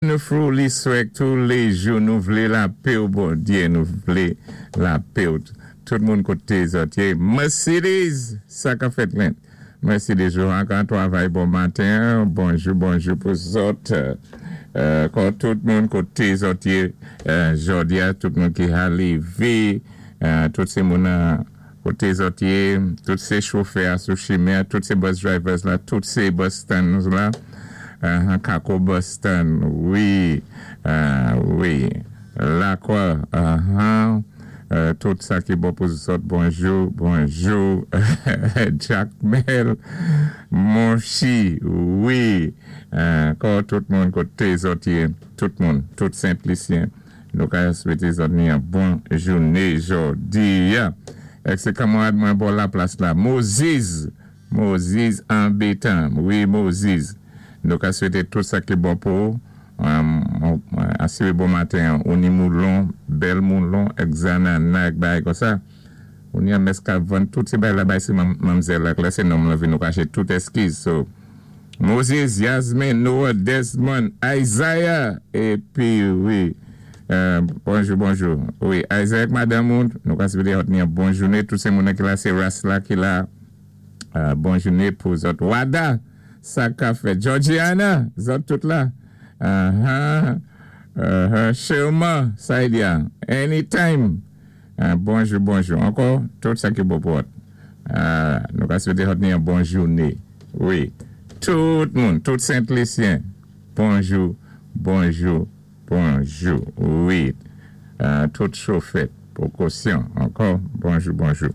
Nou fouli swèk tou lejou nou vlé lapé w Bondyé nou vlé lapé w tout moun koté zòt yé Mercedes sa kap fèt lent Mercedes ou anka twavay bon maten bonjou bonjou pou zòt kò tout moun koté zòt yé jòdia tout moun ki ha lévé tout sé moun nan Kote zòt ye, tout se chofè a sou chimen an, tout se bus drivers la, tout se bus stands la, ahan kako bus stand wi, wi lakwa ahan tout sa ki bon pou zòt bonjou bonjou jakmèl monchi wi kò tout moun kote zòt ye tout moun tout senplisyen. Nou ka swete zanmi an bon joune jodi a. Ek se kanmarad mwen bò laplas la Moziz! Moziz anbetan wi Moziz. Nou ka swete tout sa ki bon pou ou. Asire bon maten an ou ni moulon, bèl moulon ek zanana ek bagay konsa. Ou ni anmès ka vann tout se bagay la bay se manmzèl ak lè se nonm lan vin ou kache tout eskiz so Moses, Yasmine, Noah, Desmond, Isaiah epi wi bonjou bonjou wi Isaiah ak madanm ou nou ka swete ot ni yon bon joune tout se moun nan ki la se ras la ki la bon joune pou zòt Wada sa ka fèt Georgiana zòt tout la ahaa Sherman Saidia anytime. Bonjou bonjou ankò tout sa ki bon pou ot nou ka swete ot ni yon bon joune wi tout moun tout sentlisyen bonjou bonjou bonjou wi tout chofè pokosyon ankò bonjou bonjou.